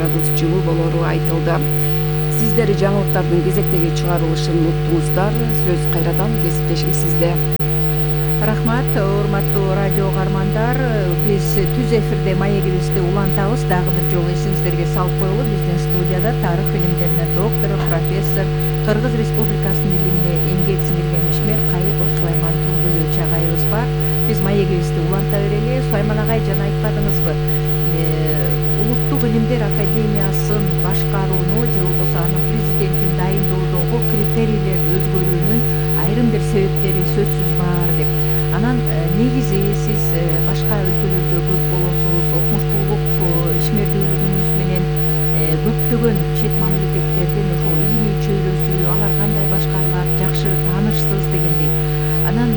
градус жылуу болору айтылды. Сиздер жаңылыктардын кезектеги чыгарылышын уттуңуздар. Сөз кайрадан кесиптешим сизде. Рахмат, урматтуу радио каармандар. Биз түз эфирде маегибизди улантабыз. Дагы бир жолу эсиңиздерге салып коелу, биздин студияда тарых илимдеринин доктору, профессор, Кыргыз Республикасынын илимине эмгек сиңирген ишмер Кайыпов Сулайман Турдуевич агайыбыз бар. Биз маегибизди уланта берели. Сулайман агай, жана айтпадыңызбы, Улуттук илимдер академиясын башкарууну же болбосо анын президентин дайындоодогу критерийлерди өзгөрүүнүн айрым бир себептери сөзсүз бар деп. Анан негизи сиз башка өлкөлөрдө көп болосуз, окумуштуулук ишмердүүлүгүңүз менен көптөгөн чет мамлекеттердин ошол илимий чөйрөсү, алар кандай башкарылат, жакшы таанышсыз дегендей. Анан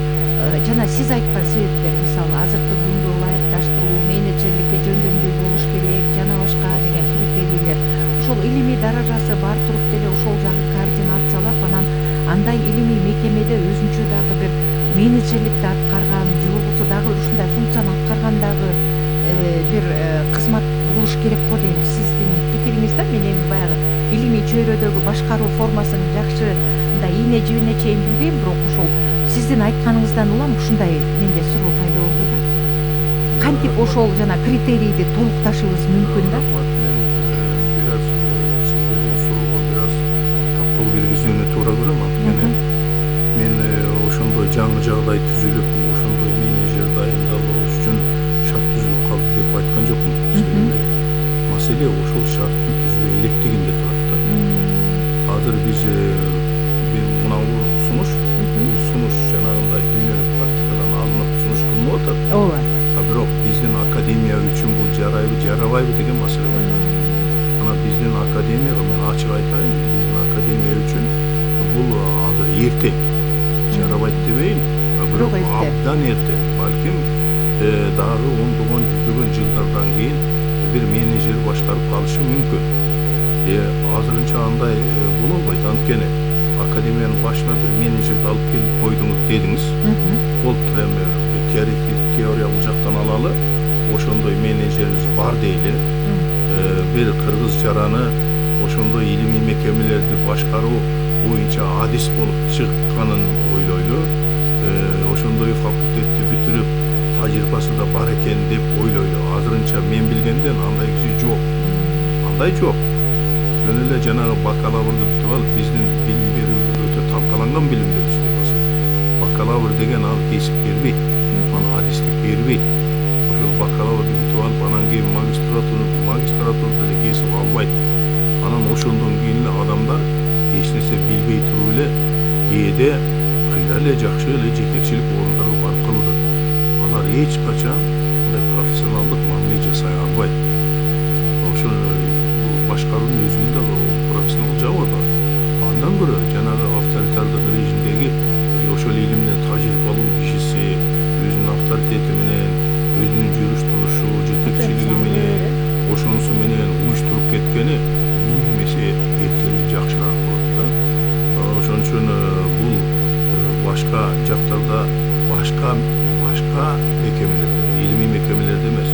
жана сиз айткан себептер, мисалы азыркы күнгө ылайыкташтыруу, менеджерликке жөндөмдүү болуш керек жана башка деген критерийлер. Ошол илимий даражасы бар туруп деле ошол жагы координациялап, анан андай илимий мекемеде өзүнчө дагы бир менеджерликти аткарган же болбосо дагы ушундай функцияны аткарган дагы бир кызмат болуш керек го дейм. Сиздин пикириңиз да? Мен эми баягы илимий чөйрөдөгү башкаруу формасын жакшы мындай ийне жибине чейин билбейм, бирок ошол сиздин айтканыңыздан улам ушундай менде суроо пайда болду да. Кантип ошол жана критерийди толукташыбыз мүмкүн да? Мен бир аз сиз берген суроого бир аз каттоо киргизүүнү туура көрөм. Анткени мен ошондой жаңы жагдай түзүлүп, ошондой менеджер дайындалуу үчүн шарт түзүлүп калды деп айткан жокмун. Себеби маселе ошол шарттын түзүлө электигинде турат да. Азыр биз мынау сунуш жанагындай дүйнөлүк практикадан алынып сунуш кылынып атат. Ооба. Бирок биздин академия үчүн бул жарайбы, жарабайбы деген маселе бар. Анан биздин академияга мен ачык айтайын, биздин академия үчүн бул азыр эрте. Жарабайт дебейин, бирок абдан эрте. Балким дагы ондогон, жүздөгөн жылдардан кийин бир менеджер башкарып калышы мүмкүн. Азырынча андай боло албайт. Анткени академиянын башына бир менеджерди алып келип койдуңуз дедиңиз. Болуптур эми теориялык жактан алалы, ошондой менеджерибиз бар дейли. Бир кыргыз жараны ошондой илимий мекемелерди башкаруу боюнча адис болуп чыкканын ойлойлу. Ошондой факультетти бүтүрүп тажрыйбасы да бар экен деп ойлойлу. Азырынча мен билгенден андай киши жок. Андай жок. Жөн эле жанагы бакалаврды бүтүп алып, биздин билим берүү өтө талкаланган билим берүү системасы. Бакалавр деген ал кесип бербейт, аны адистик бербейт. Ошол бакалаврды бүтүп алып, анан кийин магистратура деле кесип албайт. Анан ошондон кийин эле адамдар эч нерсе билбей туруп эле кээде кыйра эле жакшы эле жетекчилик орундарга барып калышат. Алар эч качан мындай профессионалдык мамиле жасай албайт. Ошол башкаруунун өзүнүн да профессионалдык жагы бар. Андан көрө жанагы авторитардык режимдеги ошол илимдин тажрыйбалуу кишиси өзүнүн авторитети менен, өзүнүн жүрүш турушу, жетекчилиги менен, ошонусу менен уюштуруп кеткени миң эсе эртерээк жакшыраак болот да. Ошон үчүн бул башка жактарда, башка мекемелерде, илимий мекемелерде эмес.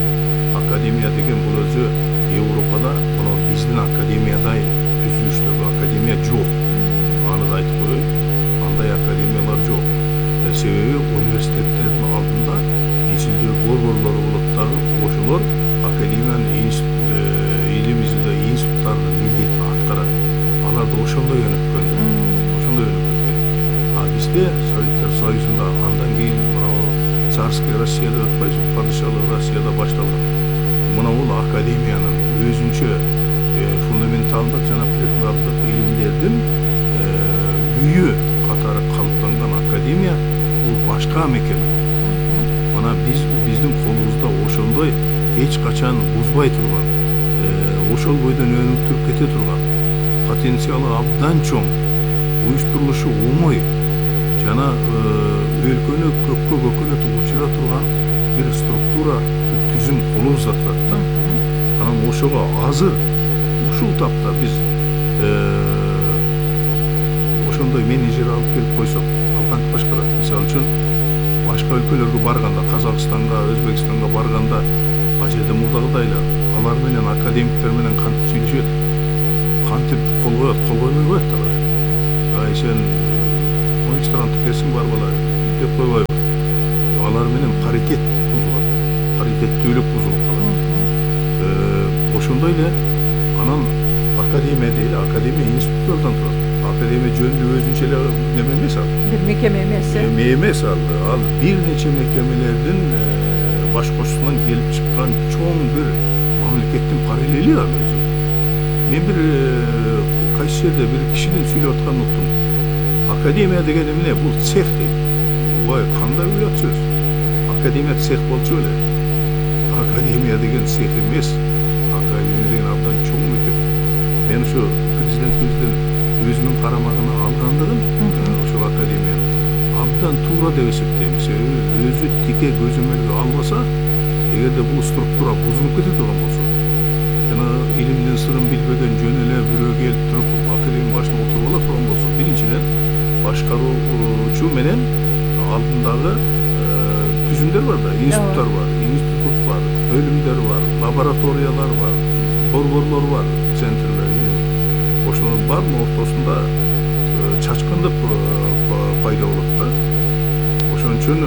Академия деген бул өзү Европада мына биздин академиядай түзүлүштөгү академия жок. Аны да айтып коеюн. Андай академиялар жок. Себеби университеттердин алдында ичилдүү борборлору болот дагы, ошолор академиянын илим изилдөө институттарынын милдетин аткарат. Алар да ошондой өнүккөн. А бизде Советтер Союзунда андан кийин мына царский Россияда өтпөйсүң, падышалык Россияда башталган. Мына бул академиянын өзүнчө фундаменталдык жана прикладдык илимдердин үйү катары калыптанган академия бул башка мекеме. Мына биздин колубузда ошондой эч качан бузбай турган, ошол бойдон өнүктүрүп кете турган, потенциалы абдан чоң, уюштурулушу оңой жана өлкөнү көккө көкөнөтүп учура турган бир структура, бир түзүм колубузда турат да. Анан ошого азыр ушул тапта биз ошондой менеджер алып келип койсок, ал кантип башкарат? Мисалы үчүн башка өлкөлөргө барганда, Казакстанга, Өзбекстанга барганда, ал жерде мурдагыдай эле алар менен академиктер менен кантип сүйлөшөт, кантип кол коет, кол койбой коет алар. Ай сен магистранттык кесиң бар бала деп койбойбу. Алар менен паритет бузулат, паритеттүүлүк бузулуп калат. Ошондой эле анан академия дейли, академия институттардан турат. Академия жөнүндө өзүнчө эле неме эмес ал. Бир мекеме эмес. Эмес ал бир нече мекемелердин баш кошусунан келип чыккан чоң бир мамлекеттин параллели ал өзү. Мен бир кайсы жерде бир кишинин сүйлөп атканын уктум. Академия деген эмне? Бул цех дейт. Ой, кандай уят сөз. Академия цех болчу эле. Академия деген цех эмес. Академия деген абдан чоң мекеме. Мен ушу президентибиздин өзүнүн карамагына алгандыгын ошол академияны абдан туура деп эсептейм. Себеби өзү тике көзөмөлгө албаса, эгерде бул структура бузулуп кете турган болсо, жана илимдин сырын билбеген жөн эле бирөө келип туруп академия башына отуруп ала турган болсо, биринчиден башкаруучу менен алдындагы түзүмдөр бар да, институттар бар, институт бар, бөлүмдөр бар, лабораториялар бар, борборлор бар, центрлер, ошолор баардын ортосунда чачкындык пайда болот да. Ошон үчүн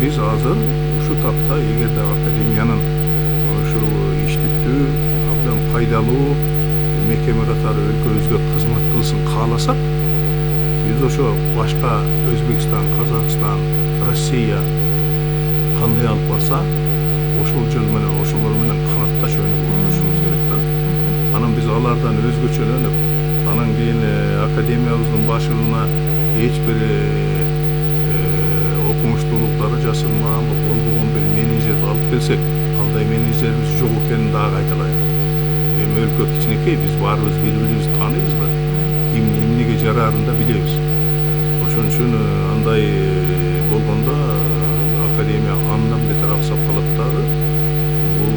биз азыр ушу тапта эгерде академиянын ушул иштиктүү, абдан пайдалуу мекеме катары өлкөбүзгө кызмат кылсын кааласак, биз ошо башка Өзбекстан, Казакстан, Россия кандай алып барса, ошол жол менен ошолор менен канатташ өнүгүп отурушубуз керек да. Анан биз алардан өзгөчөлөнүп, анан кийин академиябыздын башына эч бир окумуштуулук даражасына болбогон бир менеджерди алып келсек, андай менеджерибиз жок экенин дагы айта-алайын. Эми өлкө кичинекей, биз баарыбыз бири-бирибизди тааныйбыз да, эмнеге жараарын да билебиз. Ошон үчүн андай болгондо академия андан бетер аксап калат дагы. Бул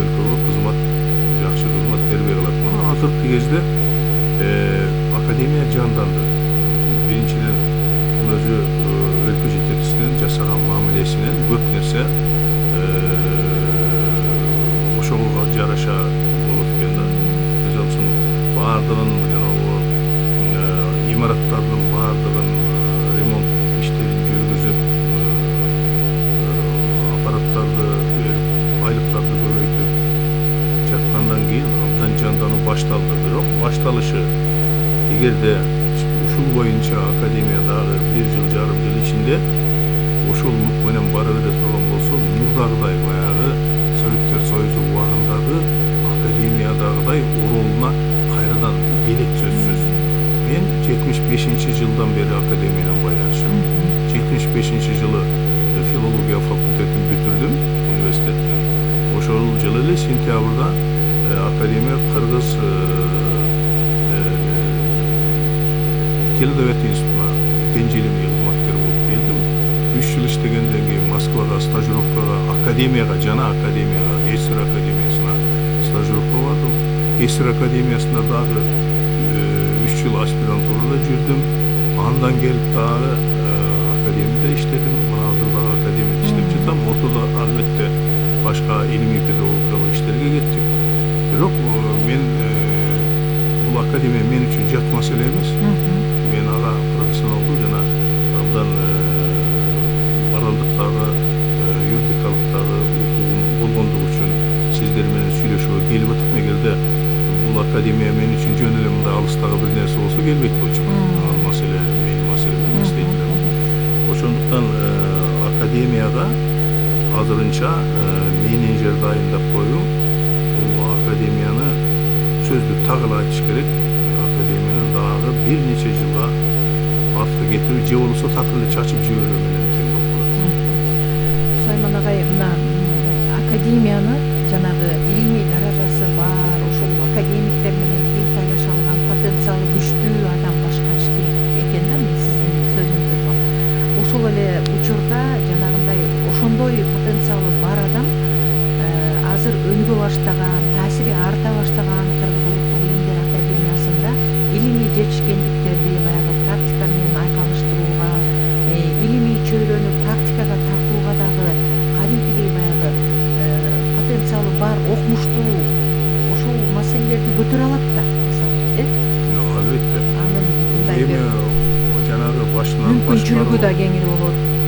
өлкөгө кызмат, жакшы кызмат бербей калат. Мына азыркы кезде академия жанданды. Биринчиден бул өзү өлкө жетекчисинин жасаган мамилесинен көп нерсе ошого жараша болот экен да. Мисалы үчүн баардыгын жанагы имараттардын баардыгын ремонт иштерин жүргүзүп, аппараттарды берип, айлыктарды көбөйтүп жаткандан кийин абдан жандануу башталды. Бирок башталышы эгерде ушул боюнча академия дагы 1 жыл жарым жыл ичинде ошол нук менен бара бере турган болсо, мурдагыдай баягы Советтер Союзу убагындагы академиядагыдай оролуна кайрадан келет сөзсүз. Мен 75-жылдан бери академия менен байланышым. 75-жылы филология факультетин бүтүрдүм университеттен. Ошол жылы эле сентябрда академия Кыргыз Теледовет институтуна деңжелимий кызматкер болуп келдим. 3 жыл иштегенден кийин Москвага стажировкага, академияга, жана академияга, СССР академиясына стажировка бардым. СССР академиясында дагы 3 жыл аспирантурада жүрдүм. Андан келип дагы академияда иштедим. Мына азыр дагы академияда иштеп жатам. Ортодо албетте башка илимий педагогикалык иштерге кеттик. Бирок мен бул академия мен үчүн жат маселе эмес. Мен ага профессионалдуу жана абдан моралдыктагы, юридикалыктагы укугум болгондугу үчүн сиздер менен сүйлөшүүгө келип атам. Эгерде бул академия мен үчүн жөн эле мындай алыстагы бир нерсе болсо келбейт болчумун. Ал маселе менин маселем эмес дейт элем. Ошондуктан академияга азырынча менеджер дайындап коюу, бул академияны сөздү так эле айтыш керек. Академияны дагы бир нече жылга артка кетирип, же болбосо так эле чачып жиберүү менен тең болуп калат. Сулайман агай, мына академияны жанагы илимий даражасы бар, ошол академиктер менен тил сайлаша алган потенциалы күчтүү адам башкарыш керек экен да, мен сиздин сөзүңүздөн. Ошол эле учурда жанагындай ошондой потенциалы бар адам азыр өнүгө баштаган, таасири арта баштаган Кыргыз Улуттук Илимдер Академиясында илимий жетишкендиктерди баягы практика менен айкалыштырууга, илимий чөйрөнү практикага тартууга дагы кадимкидей баягы потенциалы бар окумуштуу көтөрө алат да мисалы, Албетте. анын мындай Эми бир жанагы башынан мүмкүнчүлүгү да кеңири болот.